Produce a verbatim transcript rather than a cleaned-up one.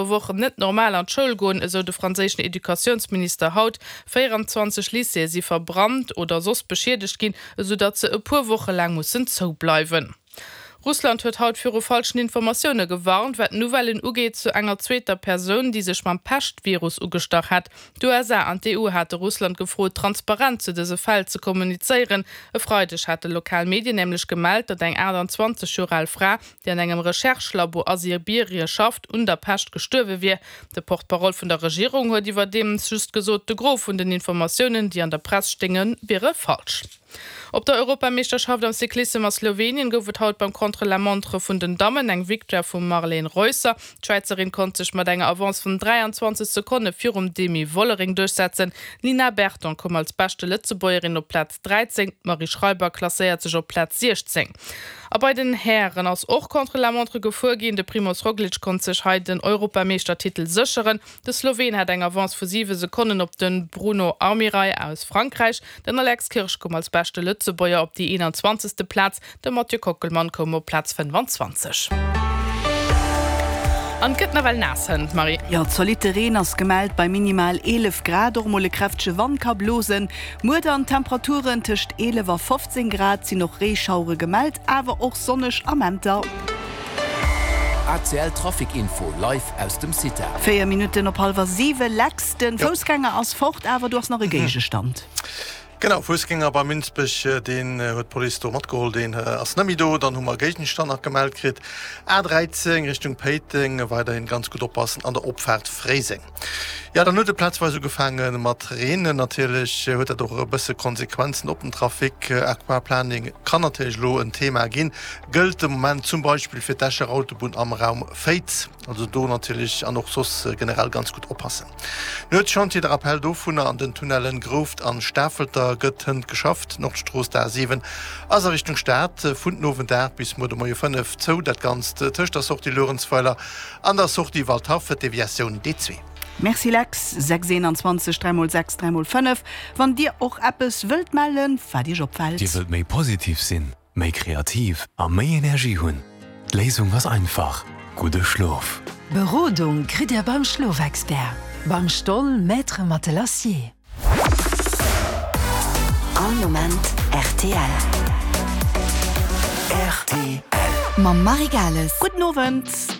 Wochen net normal an d'Schoul goen, esou de franséischen Educatiounsminister haut. véierundzwanzeg Lycéeë si verbrannt oder soss beschiedegt ginn, esou datt se e puer Woche laang mussen zoubleiwen. Russland huet haut viru falschen Informatioune gewarnt, wat Nouvellen ugeet zu enger zweeter Persoun, déi sech mam Pescht-Virus ugestach hätt. D'U S A an d'E U hate Russland gefrot, transparent zu dëse Fäll ze kommunizéieren. E Freideg hate lokal Medien nämlech gemellt, datt eng aachtanzwanzeg Joer al Fra, déi an engem Recherche-Labo a Sibirie schafft, un der Pescht gestuerwe wier. De Porte-parole vun der Regierung huet iwwerdeems just gesot, de Gros vun den Informatiounen, déi an der Press stéingen, wiere falsch. Op der Europameeschterschaft am Cyclissem a Slowenien gouf et haut beim Contre-la-montre vun den Dammen eng Victoire vum Marlene Reusser. D'Schwäizerin konnt sech mat enger Avance vun dräianzwanzeg Sekonne virum Demi Vollering duerchsetzen. D'Nina Berton koum als beschte Lëtzebuergerin op Plaz dräizéng, d'Marie Schreiber klasséiert sech op Plaz siechzéng. A bei den Hären ass och Contre-la-montre gefuer ginn. De Primoz Roglic konnt sech hei den Europameeschtertitel sécheren. De Sloween hat eng Avance vu siwe Sekonnen op de Bruno Armirail aus Frankräich. Den Alex Kirsch koum als beschte Lëtzebuerger op déi eenanzwanzegste Plaz. De Mathieu Kockelmann koum op Plaz fënnfanzwanzeg. An et gëtt nawell naass hënt, Marie. Jo, zolitte Reen ass gemellt bei minimal eelef Grad. Och mol e kräftege Wand ka blosen. Muer dann Temperaturen tëscht eelef a fofzéng Grad, sinn och Reeschauere gemellt, awer och sonneg Amenter. A C L Trafic Info live aus dem CITA. Véier Minutten op hallwer siwe, Lex, de Foussgänger ass fort, awer do ass nach e Géigestand. Genau, Foussgänger bei Minsbech, deen huet d'Police do matgeholl, deen ass net méi do. Dann hu mer Géigenstand nach gemellt kritt, A dräizéng Richtung Péiteng, weiderhin ganz gutt oppassen an der Opfaart Fréiseng. Jo, dann huet et plazweis ugefaange mat reenen. Natierlech huet dat och e bësse Konsequenzen op den Trafic. Aquaplaning kann natierlech elo en Thema ginn, gëllt de Moment zum Beispill fir d'Escher Autobunn am Raum Féiz. Also do natierlech an och soss generell ganz gutt oppassen. Nuetschantier, de Rappell dovunner, An den Tunnellen Grouft an Stafelter gëtt hënt geschafft. D'Nordstrooss, d'A siwen, ass a Richtung Stad vun den Owend aacht bis muer de Moie fënnef zou. Dat Ganzt tëscht der Sortie Luerenzweiler an der Sortie Waldhaff, Deviatioun D zwee. Merci Lex. Sechs eenanzwanzeg dräi mol sechs dräi mol fënnef wann Dir och eppes wëllt mellen, wat Iech opfält. Dir wëllt méi positiv sinn, méi kreativ a méi Energie hunn? D'Léisung ass einfach, gudde Schlof! Berodung kritt Dir beim Schlofexpert, beim Stoll Maître Matelassier. All Moment rtl. Mam Marie Gales. Gudden Owend.